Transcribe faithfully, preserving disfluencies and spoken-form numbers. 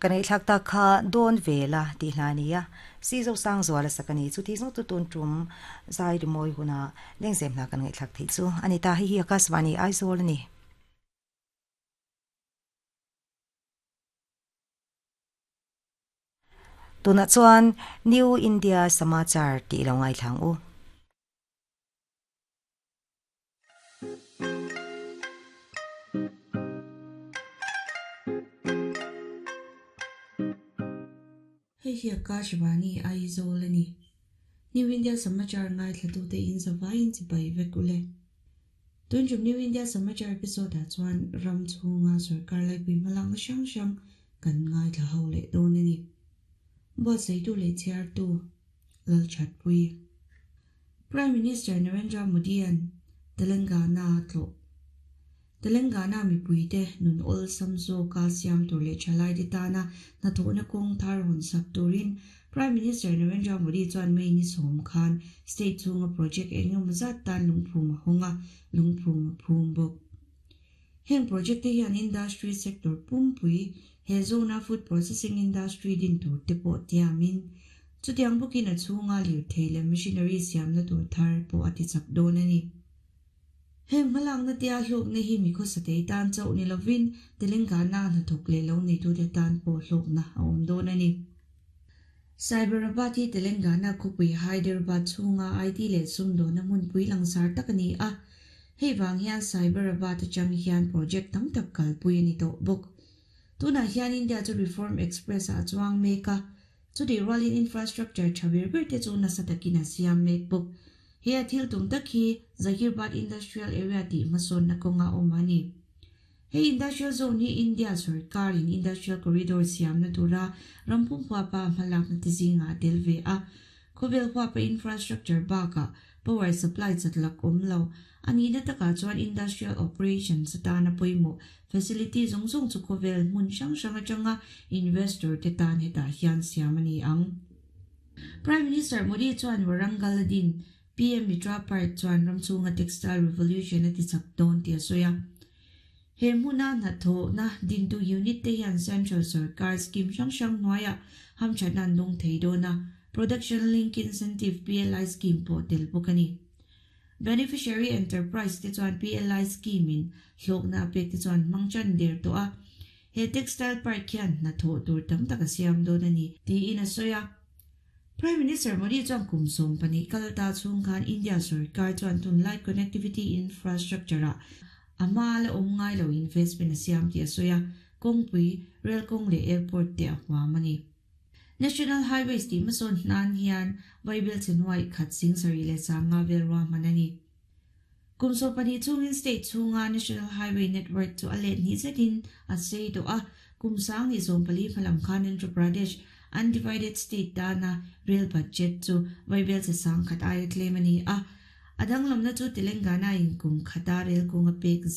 Kan ei thlak ta kha dawn vela ti hlania si zo sang zuala sakani chu ti zo tu tun tum zai ri moi huna lengzem na kan ngai thlak thei chu ani ta hi hi Akashvani Aizawl ani. Tuna chuan New India Samachar ti lo ngai thlang u. Hei hi Akashvani Aizawl ani. New India Samachar ngai thlatu te in zawai in chibai vek ule. Tun tum New India Samachar episode ah chuan ram chhunga sarkar lai pui hmalang hrang hrang kan ngai thla ho leh dawn ani. Buatsaih tu leh chhiar tu Lal Thatpui. Prime Minister Narendra Modi an Telangana tlo. Telangana mipui te nun ol samzo ka siam tur leh thalai te tana hnathawhna kawng thar hawn sak turin Prime Minister Narendra Modi chuan May ni sawm khan state chhunga project engemaw zat tan lungphum a hawng a, lungphum a phum bawk. Heng project te hian industry sector pumpui he zone a food processing industry din tur te pawh tiamin chutiang bawkin a chhunga lirthei leh machinery siamna tur thar pawh a ti chak dawn ani. Heng hmalakna te a hlawkna hi mi khawsatei tan chauh ni lovin Telangana hnathawk leh lo neitu te tan pawh hlawkna a awm dawn ani. Cyberabad hi Telangana khawpui Hyderabad chhunga I T leh sumdawna hmunpui langsar tak ani a. Hei wang hian Cyberabad atang hian project tam tak kalpui ani tawh bawk. Tunah hian India chu Reform Express a chuang mek a, chuti rualin infrastructure tha ber ber te chu nasa takin a siam mek bawk. He a thil tum tak hi Zaheerabad Industrial Area tih hmasawnna kawnga awm ani. He industrial zone hi India sarkar in industrial corridor siamna tura rampum huapa hmalakna ti zinga tel ve a. Khawvel huapa infrastructure baka power supply chatlak awm lo. Ani na taka chuan industrial operations atana pawimawh facility zawng zawng chu khawvel hmun hrang hrang atanga investor te tan hetah hian siam ani ang. Prime Minister Modi chuan Warangal din P M Mitra Park chuan ramchhunga textile revolution a ti chak dawn ti a sawi a. He hmuna hnathawhna dintu unit te hian Central Sarkar scheme hrang hrang hnuaiah hamthatna an dawng thei dawn a, Production Link Incentive P L I scheme pawh tel bawk ani. Beneficiary Enterprise te chuan P L I scheme in hlawkna a pek te chuan hmang chan der tawh a. He textile park hian hnathawh tur tam tak a siam dawn ani tiin a sawi a. Prime Minister Modi chuan kum sawm pahnih kalta chhung khan India sarkar chuan tunlai connectivity infrastructure a ama la awm ngai lo investment a siam ti a sawi a, kawngpui rail kawng leh airport te a huam ani. National Highways ti hmasawn hnan hian Vaibel chenwai khat sing sari leh sanga vel ruahman ani. Kum sawm pahnih chungin state chhunga National Highway Network chu a let ni zetin a sei tawh a, kum sang ni zawm pali hmalam khan Andhra Pradesh undivided state tana rail budget chu Vaibel che sang khat aia tlem ani a. Adang lamna chu Telangana in kum khata rail kawnga pek